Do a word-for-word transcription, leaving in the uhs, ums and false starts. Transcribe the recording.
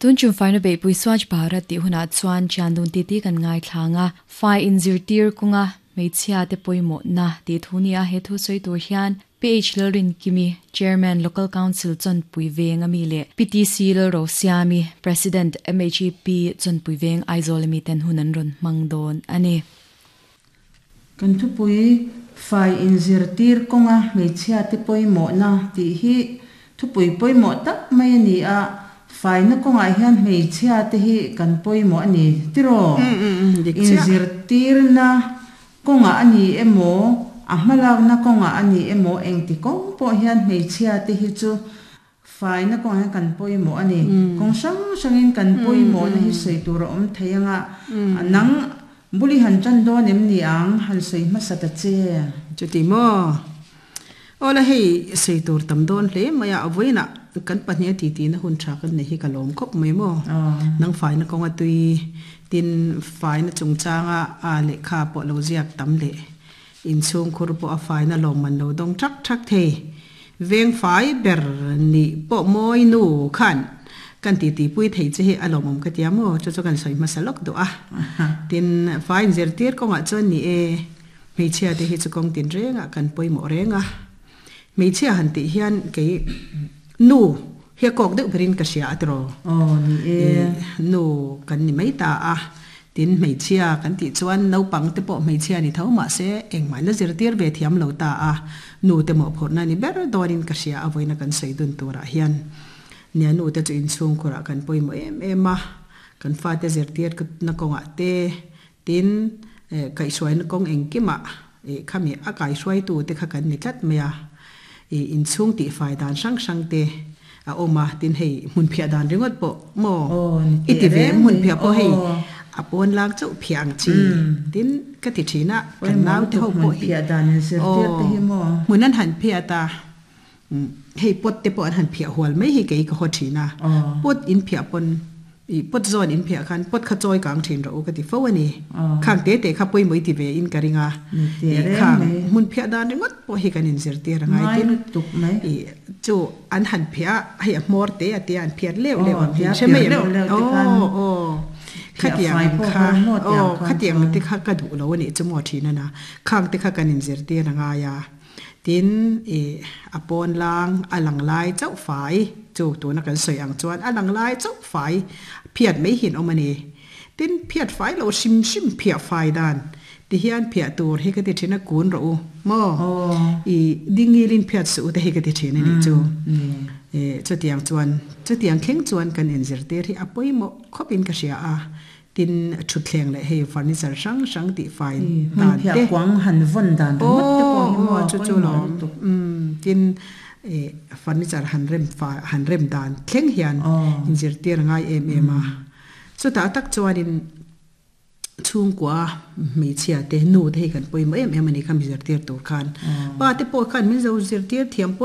Tun chum faina be pui Swachh Bharat ti huna chuan chandun ti ti kan ngai thlanga fai in zirtir kunga meichhia te poimo na ti thuni a he thu soi tur hian P H Lalrin Kimi, Chairman, Local Council Chawnpui Veng ami le P T C Lalro Siami, President, M H E P Chawnpui Veng Aizawl ami ten hunan ron mangdon ani. Kan thupui fai in zirtir kawnga hmeichhia te pawimawh na tih hi thupui pawimawh tak mai a ni a. Faina kawngah hian hmeichhia te hi kan pawimawh a ni tiraw? Inzirtirna kawngah a ni emaw, a hmalakna kawngah a ni emaw, engti kawng pawh hian hmeichhia te hi chu faina kawngah hian kan pawimawh a ni. Kawng hrang hrangin kan pawimawh na hi sawi tur a awm thei anga, nang buli han tan dawn em ni ang, han sawi hmasa ta che. Chuti maw? Ola, hei sei tur tam dawn hle maya. Avoina kan pahnih ti ti na hun tha kan nei hi ka lawm khawp mai maw. Nang faina kawnga tui tin, faina chungchanga a lehkha pawh lo ziak tam leh inchhung khur pawh a faina lawm man lo dawng thak thak thei, veng fai ber ni pawh mawi nu khan kan ti ti pui thei che hi a lawmawm ka tia maw. Chu chu kan sawi hmasa lawk duh a. Tin, fai inzirtir kawngah chuan ni e, hmeichhia te hi chu kawng tin renga kan pawimawh renga. Hmeichhia han tih hian kei nu hi a kawk deuh berin ka hria atiraw? Aw, ni e. Nu kan ni mai ta a. Tin, hmeichhia kan tih chuan naupang te pawh hmeichhia ni tho mah se engmah la zirtir ve thiam lo ta a, nu te mawhphurhna ni ber dawnin ka hria. A vawiina kan sawi dun turah hian nia, nu te chu inchhung khurah kan pawimawh em em a. Kan fate zirtir na kawngah te, tin kaihhruaina kawng engkimah khami a kaihhruaitu te kha kan ni tlat mai a. Inchhung tih fai dan hrang hrang te a awm a. Tin, hei hmun phiah dan ringawt pawh maw i ti ve, hmun phiah pawh hei a pawn lang chauh phiah ang chi tin ka ti thina kan nau te ho pawh hi. Phiah dan in zirtir te hi maw? Hmun an han phiah ta, hei pot te pawh an han phiah hual mai hi kei ka haw thina. Pot in phiah pawn i pot zawn in phiah khan pot kha chawi kang thin ro ka ti fo ani. Khang te te kha pawimawh ti ve in ka ringa. Khang hmun phiah dan ringawt pawh hi kan in zirtir angai. Tin, tuk mai. I chu an han phiah hei a hmawr te a te an phiat leuh leuh ang hi hre mai. Aw aw, khatiang kha aw, khatiang te kha ka duh lo ani chu maw thina na. Khang te kha kan in zirtir angai a. Tin, i a pawn lang a lang lai chauh fai chu tuna kan sawi ang chuan a lang lai chauh fai phiat mai hin awm ani. Tin, phiat fai lo hrim hrim phiah fai dan ti hian phiah tur hi ka ti thina, kun ro u maw, i dingilin phiat su te hi ka ti thin ani chu. E chutiang chuan, chutiang thleng chuan kan in zirtir hi a pawimawh khawpin ka hria a. Tin, thutthleng leh hei furniture hrang hrang tih fai dan te, quang han vawn dan ringawt te pawh hi maw? Chu chu lawm. Tin, e furniture han rem fa han rem dan thleng hian in zirtir ngai em em a. Chutah tak chuanin chhungkua hmeichhia te, nu te hi kan pawimawh em em ani. Khami zirtir tur khan pa te pawh khan min zo zirtir thiam pawh.